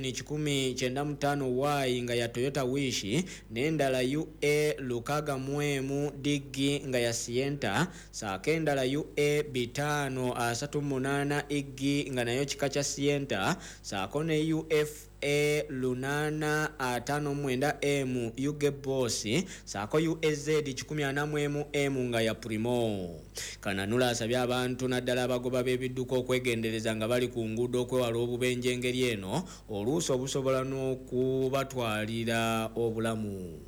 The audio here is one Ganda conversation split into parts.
UN 195 Y nga ya Toyota Wish, n'endala UA 61 DG nga ya Sienta, saako endala UA 538 IG nga nayo kika kya Sienta, saako ne UF A 859 M UG Boss, saako UAZ 141 M nga ya Primo. Kananula asabye abantu naddala abagoba b'ebidduka okwegendereza nga bali ku nguudo okwewala obubenje engeri eno oluusi obusobola n'okubatwalira obulamu.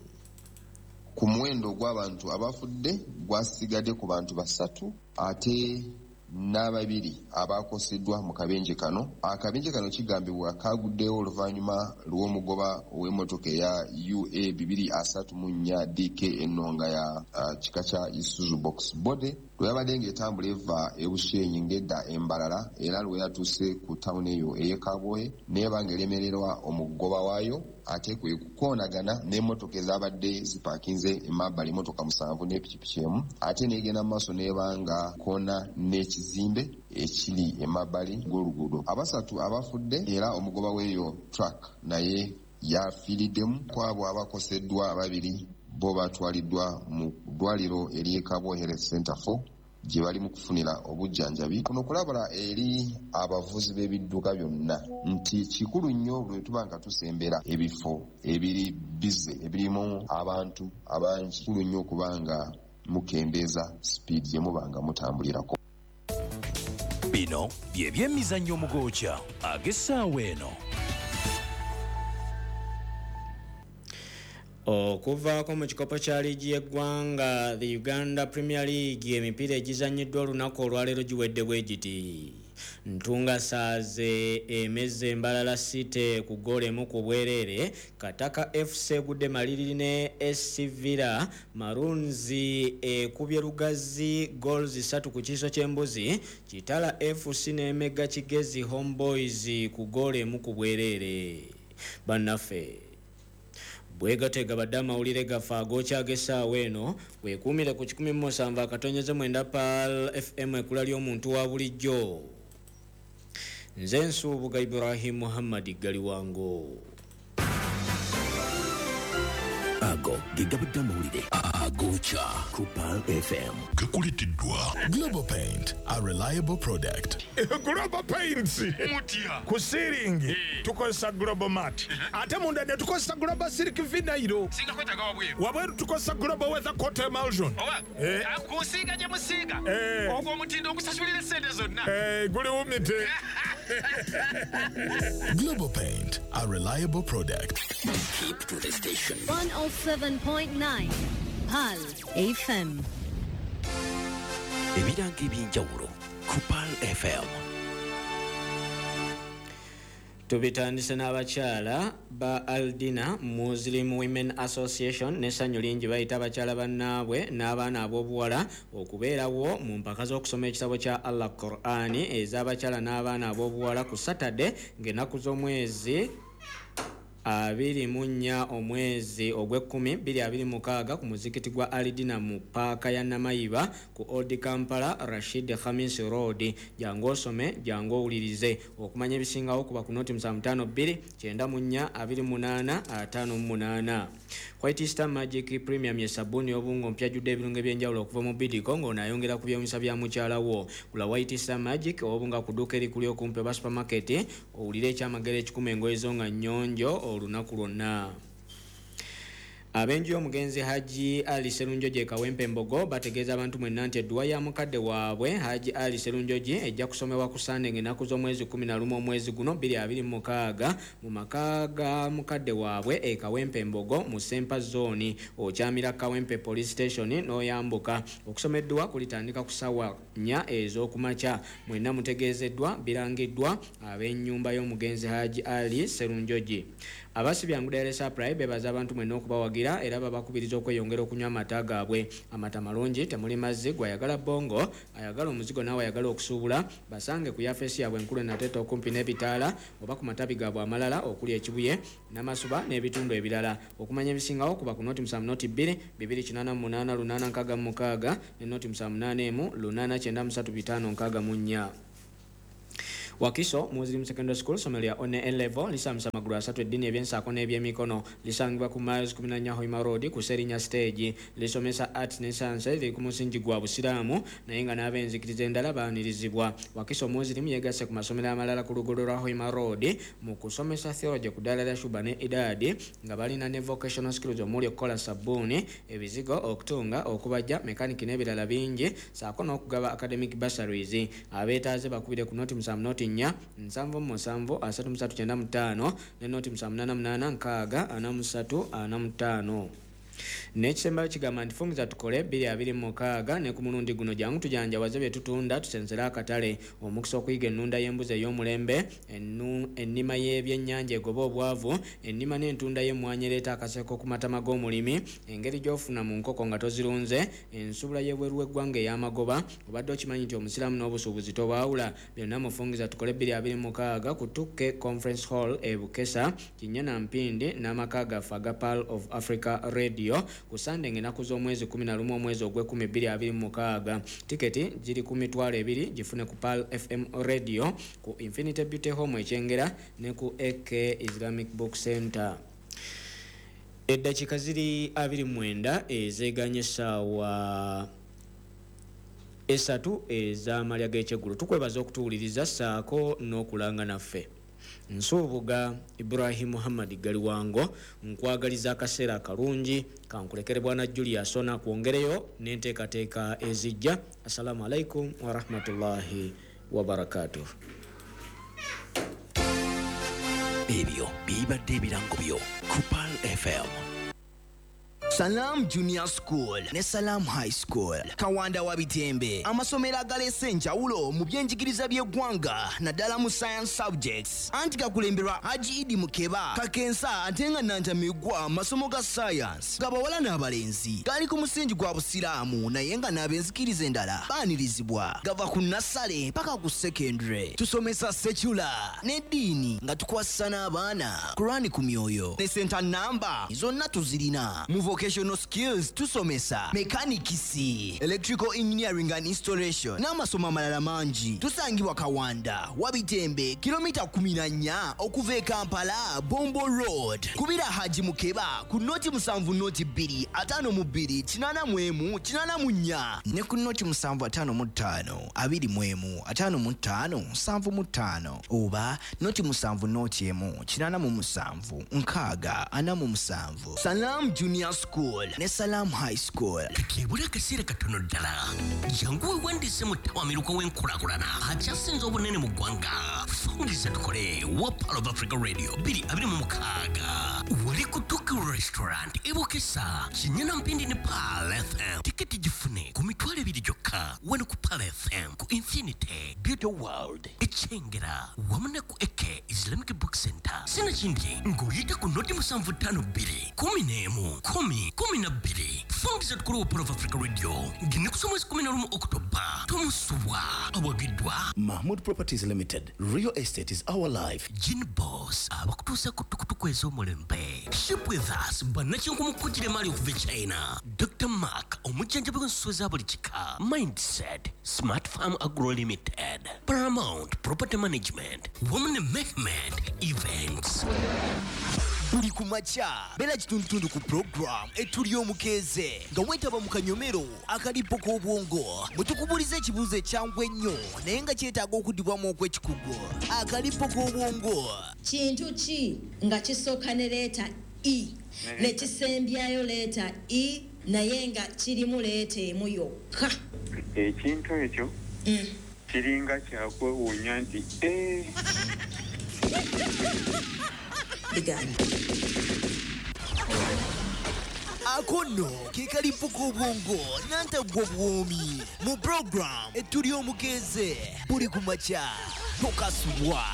Ku muwendo gw'abantu abafudde gwasigadde ku bantu 3 ate n'ababiri abakoseddwa mu kabenje kano. Akabenje kano kigambibwa kaguddewo oluvannyuma lw'omugoba ow'emmotoka eya UA 234 DK eno nga ya kika kya Isuzu box body lwe yabadde ng'etambula eva e Bushenyi ng'edda Embalala, era lwe yatuuse ku tawuni eyo ey'e Kabwohe n'eba ng'eremererwa omugoba waayo, ate kwe kukoonagana n'emmotoka ezabadde zipaakinze emabbali, emmotoka 7 n'epikipiki emu, ate n'egenda mu maaso n'eba nga koona n'ekizimbe ekiri emabbali g'oluguudo. 3 abafudde era omugoba w'eyo truck naye yafiiriddemu. Kwabo abakoseddwa 2 bo batwaliddwa mu ddwaliro ery'e Kabwohe Health Center 4 gye bali mu kufunira obujjanjabi. Kuno kulabula eri abavuzi b'ebidduka byonna nti kikulu nnyo lwe tuba nga tusembera ebifo ebiri bize ebirimu abantu abangi, kikulu nnyo okuba nga mukendeeza sipiidi gye muba nga mutambulirako. Bino bye by'emizannyo omugoocha ag'essaawa eno. Okuvaako mu kikopo kya liigi y'eggwanga, the Uganda Premier League, emipiira egizannyiddwa olunaku olwaleero giwedde bwe giti. Ntunga Saaze emezze Embalala City ku ggoolo 1 ku bwereere, Kataka FC egudde Maliriri ne SC Villa, Maroons ekubye Lugazi goals 3 ku kiiso ky'embuzi, Kitala FC n'emegga Kigezi Homeboys ku ggoolo 1 ku bwereere. Bannaffe, bwegatega badde amawulire gaffe agookya ag'essaawa eno. Weekuumire ku 107.9 Pearl FM, ekkula ly'omuntu wa bulijjo. Nze Nsuubuga Ibrahim Muhammad Galiwango. Ago ge gabadde amawulire agookya ku Pearl FM. Gakuleeteddwa Global Paint, a reliable product. Global Paints. Mutya? Ku ceiling tukozesa Global Mat, ate munda ne tukozesa Global Silk Vinyl. Singa kwetaaga wabweru? Wabweru tukozesa Global Weather Coat Emulsion. Oba kunsiiga gye musiiga, ogwo omutindo ogusasulira essente zonna. Guli wumite. Global Paint, a reliable product. Keep to the station. 107.9 Pearl FM. Ebirango eby'enjawulo ku Pearl FM. Tubitandise n'abakyala ba Aldina Muslim Women Association n'essanyu lingi bayita abakyala bannaabwe n'abaana ab'obuwala okubeerawo mu mpaka z'okusoma ekitabo kya Allah Qur'ani ez'abakyala n'abaana ab'obuwala ku Saturday ng'ennaku z'omwezi 24 omwezi ogw'ekumi 2026 ku muzikiti gwa Alidina mu paaka ya Namayiba ku Old Kampala Rashid Khamis Road. Jangu osome, jangu owulirize. Okumanya ebisingawo kuba ku 072 94 28 58. White Star Magic Premium ye sabbuuni y'obungo mpya ajjudde ebirungo eby'enjawulo okuva mu Bidiko ng'ono ayongera ku byewunyisa bya mukyala wo. Gula White Star Magic obunga ku dduuka erikuli okumpi oba supermarket, owulire ekyamagero ekikuma engoye zo nga nnyonjo olunaku lwonna. Ab'enju y'omugenzi Haji Ali Serunjogi e Kawempe Mbogo bategeeza abantu mwenna nti edduwa ya mukadde waabwe Haji Ali Serunjogi ejja kusomebwa ku Sande ng'ennaku z'omwezi 11 omwezi guno 2026 mu maka ga mukadde waabwe e Kawempe Mbogo mu Sempa Zone, okyamira Kawempe Police Station n'oyambuka. Okusoma edduwa kulitandika ku ssaawa 4 ez'okumakya. Mwenna mutegeezeddwa, birangiddwa ab'ennyumba y'omugenzi Haji Ali Serunjogi. Abasibyangu Dairy Supply bebaza abantu mwenna okubawagira era babakubiriza okweyongera okunywa amata gaabwe. Amata malungi, temuli mazzi, gwayagala bongo, ayagala omuzigo naawe ayagala okusuubula, basange ku yafeesi yaabwe enkulu Nateete okumpi n'ebitaala oba ku matabi gaabwe amalala okuli Ekibuye, Namasuba n'ebitundu ebirala. Okumanya ebisingawo kuba ku 072 288 866 ne 0781 893 564. Wakiso Muslim Secondary School ssomero lya one level lisomesa amagulu asatu, eddiini, ebyensaako n'ebyemikono. Lisangibwa ku Miles 14 Hoima Road ku Serinya Stage. Lisomesa arts ne science, liri ku musingi gwa Busiraamu naye nga n'ab'enzikiriza endala baanirizibwa. Wakiso Muslim yegasse ku masomero amalala ku luguudo lwa Hoima Road mu kusomesa theology ku ddaala lya Shuba ne Idadi, nga balina ne vocational skills omuli okukola sabbuuni, ebizigo, okutunga, okubajja, mekaniki n'ebirala bingi, saako n'okugaba academic bursaries. Abeetaaze bakubire ku 070 4 77 33 95 ne 078 6 43 45. N'ekisembayo kigamba nti fungiza tukole 2026 ne ku mulundi guno jangu tujanjawaze bye tutunda, tusensere akatale. Omukisa okuyiga ennunda y'embuzi ey'omulembe, ennima y'ebyennyanja egoba obwavu, ennima n'entunda y'emmwanyi ereeta akaseko ku matama g'omulimi, engeri gy'ofuna mu nkoko nga tozirunze, ensubula y'ebweru w'eggwanga ey'amagoba. Obadde okimanyi nti omusiraamu n'obusuubuzi tobaawula? Byonna mufungiza tukole 2026 ku Tuke Conference Hall e Bukesa, Kinnya Mpindi n'amaka gaffe aga Pearl of Africa Radio ku Sande ng'ennaku z'omwezi 11 omwezi ogw'ekumi 2026. Tiketi ziri ku 20,000, gifune ku Pearl FM Radio, ku Infinity Beauty Home Ekyengera ne ku AK Islamic Book Center. Eddakiika ziri 29 ezeeganye essaawa 3 ez'amalya g'ekyeggulo. Tukwebaza okutuwuliriza ssaako n'okulanga naffe. Nsuubuga Ibrahim Muhammad Galiwango nkwagaliza akaseera akalungi, kankulekere bwana Julius ona kwongereyo n'enteekateeka ezijja. Assalamu alaikum warahmatullahi wabarakatuh. Ebyo bibadde ebirango byo ku Pearl FM. Salam Junior School ne Salam High School Kawanda wa Bitembe, amasomero agaleese enjawulo mu byenjigiriza by'eggwanga naddala mu science subjects, anti gakulemberwa Haji Idi Mukeba Kakensa ate nga Nantamigwa. Masomo ga science gabawala n'abalenzi, gali ku musingi gwa Busiraamu naye nga n'abenzikiriza endala baanirizibwa. Gava ku nursery paka ku secondary. Tusomesa secular n'eddiini nga tukwasisa n'abaana Kurani ku myoyo ne center namba zonna tuzirina. Mu vocational skills tusomesa mechanics, electrical engineering and installation n'amasomo amalala mangi. Tusangibwa Kawanda Wabitembe, kilomita 14 okuva e Kampala, Bombo Road. Kubira Haji Mukeba ku 070 2 52 81 84 ne ku 0755 21 55 75 oba 070 1 87 6 47. Salam Junior School ne Salam High School. Kati ebula akaseera katono ddala, jangu weewandiise mu ttawamiruka w'enkulaakulana akyasinze obunene mu ggwanga, Fungiza Tukole wa Pearl of Africa Radio 2026, wali ku Tuki Restaurant e Bukesa, Kinnya Mpindi ne Pearl FM. Tiketi gifune ku 20,000 gyokka wano ku Pearl FM, ku Infinity Beauty World Ekyengera wamu ne ku AK Islamic Book Center. Sinakindi ng'oyita ku 075 2 11 10 12. Fungiza Tukole wa Pearl of Africa Radio ng'ennaku z'omwezi 11 Okutoba. Tomusubwa. Awagiddwa Mahmood Properties Limited. Real estate is our life. Gin Boss abakutuusa ku tukutuku ez'omulembe. Ship with us bannakinku mu kugira emaali okuva e China. Dr Mark omujjanjabi w'ensolo za buli kika. Mindset Smart Farm Agro Limited, Paramount Property Management wamu ne Mehmed Events. Buli ku makya beera kitundutundu ku program Etuli Omukeeze nga weetaba mu kanyomero akalipo k'obwongo bwe tukubuuliza ekibuuzo ekyangu ennyo naye nga kyetaaga okuddibwamu okw'ekikugu. Akalipo k'obwongo. Kintu ki nga kisooka ne letter E ne kisembyayo letter E naye nga kirimu letter emu yokka? Ekintu ekyo kiringa kyakwewuunya nti Bigaana. Ako nno ke kalipo k'obwongo nantaggwa bwomi mu program Etuli Omukeeze buli ku makya, tokasubwa.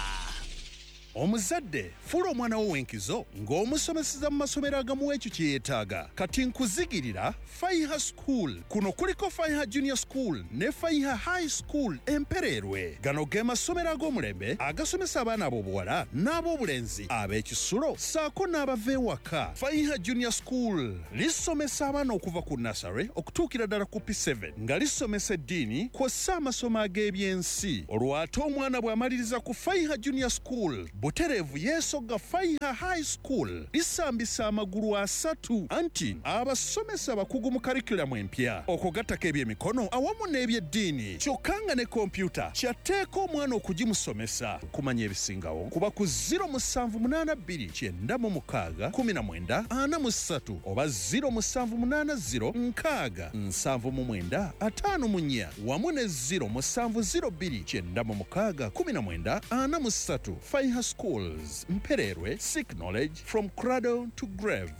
Omuzadde fuula omwana wo w'enkizo ng'omusomeseza mu masomero agamuwa ekyo kye yeetaaga. Kati nkuzigirira Faiha School. Kuno kuliko Faiha Junior School ne Faiha High School Empereerwe. Gano ge masomero ag'omulembe agasomesa abaana ab'obuwala n'ab'obulenzi, ab'ekisulo ssaako n'abava ewaka. Faiha Junior School lisomesa abaana okuva ku nursery okutuukira ddala ku P7, nga lisomesa eddiini kw'ossa amasomo ag'ebyensi. Olwo ate omwana bw'amaliriza ku Faiha Junior School, butereevu yeesogga Faiha High School. Lisambisa amagulu asatu, anti abasomesa bakugu mu curriculum empya, okugattako ebyemikono awamu n'ebyeddiini, kyokka nga ne kompyuta kyatteeka omwana okugimusomesa. Kumanya ebisingawo kuba ku 0782 96 19 43 oba 0780 60 79 54 wamu ne 0702 96 19 43. Faiha Schools, Mpererwe. Seek knowledge from cradle to grave.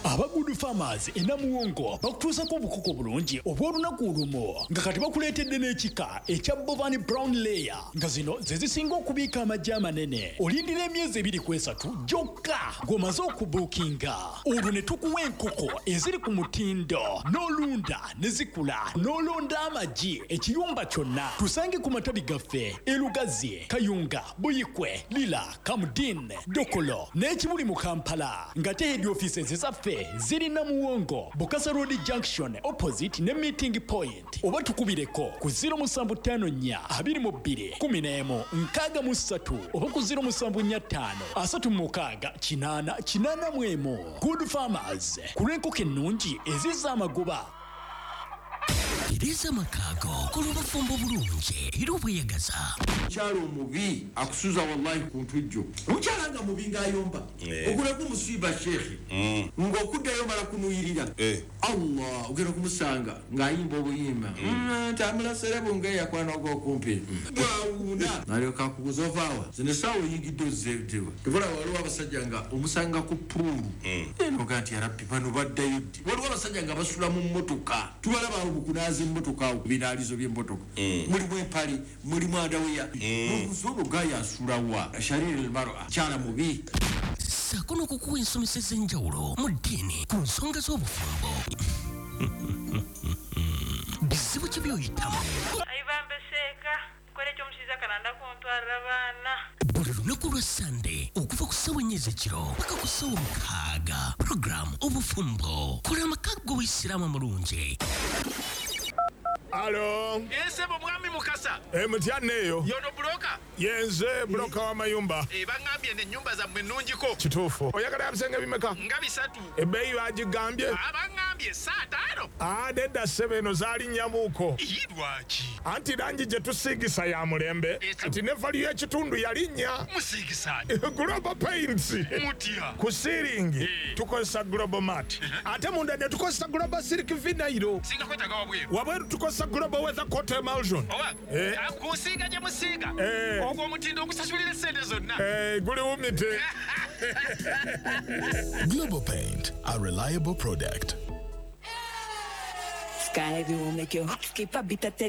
Aba Good Farmers e Namuwongo bakutuusako obukoko bulungi obw'olunaku olumu, nga kati bakuleetedde n'ekika ekya Bovan Brown Layer, nga zino ze zisinga okubiika amagi amanene. Olindira emyezi 2 ku 3 gyokka ng'omaze okubuukinga, olwo ne tukuwa enkoko eziri ku mutindo, n'olunda ne zikula, n'olonda amagi ekiyumba kyonna. Tusange ku matabi gaffe e Lugazi, Kayunga, Buyikwe, Lira, Kamdin, Dokolo n'ekibuli mu Kampala, nga te head offices zaffe ziri Namuwongo, Bukasa Road Junction, opposite ne Meeting Point, oba tukubireko ku 0754 22 11 63 oba ku 0745 36 8 81. Good Farmers, ku lw'enkoko ennungi ezizza amagoba. Tereza amakaago, kola obufumbo bulungi era obweyagaza. Omukyala omubi akusuza wallahi ku ntujjo. Omukyala nga mubi ng'ayomba, ogulako omusiiba sheekhe, ng'okuddayo mala kunuyirira. Allah, ogenda kumusanga ng'ayimba obuyimba tambula serebu ng'eyakwana ogwokumpi bwawuuna, nalyoka akubuza, "Ovaawa zino essaawa oyingidde ozzeewa?" Tebula. Waliwo abasajja nga omusanga ku pool enoga nti, "Yarabbi, bano baddayo ddi?" Waliwo abasajja nga basula mu mmotoka, tubalaba awo mukunaaza emmotoka, awo ku binaalizo by'emmotoka, mulimu empale, mulimu underwear. Nobuuza, "Ono gaaya asulawa?" Shariri almara, kyala mubi. Ssaako n'okukuwa ensomesa ez'enjawulo mu ddiini ku nsonga z'obufumbo. Bizibu ki by'oyitamu? Ayibambe seeka nkola ekyomushiza kananda kuntwarira abaana. Buli lunaku lwa Sande okuva ku ssaawa 4 ez'ekiro paka ku ssaawa 6, puroguramu Obufumbo, kola amaka g'obuyisiraamu amulungi. Alo. Esebo mwami Mukasa. E, mutya neeyo? Yono broker? Yenze broker w'amayumba. E, baŋŋambye n'ennyumba zammwe nnungiko. Kituufu. Oyagala yabisenge bimeka? Nga 3. Ebbeeyi bagigambye? Baŋŋambye 5. Ah, nedda ssebo, eno zaalinnyamuuko. Ii, lwaki? Anti langi gye tusiigisa ya mulembe, kati ne value y'ekitundu yalinnya. Musiigisa? Global Paints. Mutya? Ku ceiling tukozesa Global Mat, ate munda ne tukozesa Global Silk Vinyl. Singa kwetaaga wabweru? Wabweru tukozesa Global Weather Coat Emulsion. Oba kusiiga gye musiiga, ogwo omutindo ogusasulira essente zonna. Eh, guliwumite. Global Paint, a reliable product. Sky will make your heart skip a beat at the